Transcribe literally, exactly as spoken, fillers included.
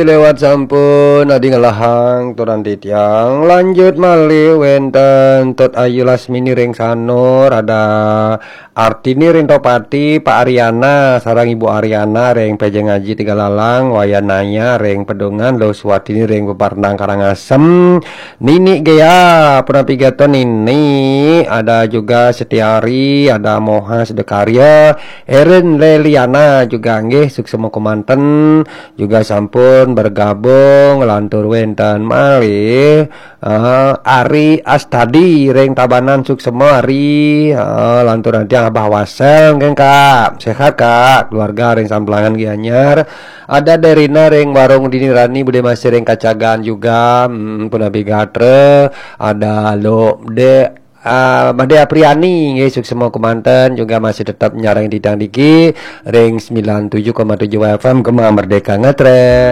Lewat sampun adi ngelahang turun titiang. Lanjut malih wenten Tut Ayu Lasmini ring Sanur, ada Artini ring Topati, Pak Ariana sareng Ibu Ariana ring Pejeng Aji Tiga Lalang, Wayan Naya ring Pedungan, Luh Suwatini ring Peparnang Karangasem, Nini Gea, punapi gatra Nini, ada juga Setiari, ada Moha Sedekarya, Erin Leliana juga nggih suksma kemanten, juga sampun bergabung lantur wenten malih, eh, Ari Astadi ring Tabanan suksma Ari, eh, lantur nanti Abah Wasel nggih Kak, sehat Kak, keluarga ring Samplangan Gianyar, ada Derina ring Warung Dini Rani, Bude Masih ring Kacagan juga, hmm, punapi gatra, ada Lo De, ah, Made Apriani nggih suksma kemanten juga masih tetap nyareng titiang niki ring sembilan tujuh koma tujuh F M Gema Merdeka Ngetrek.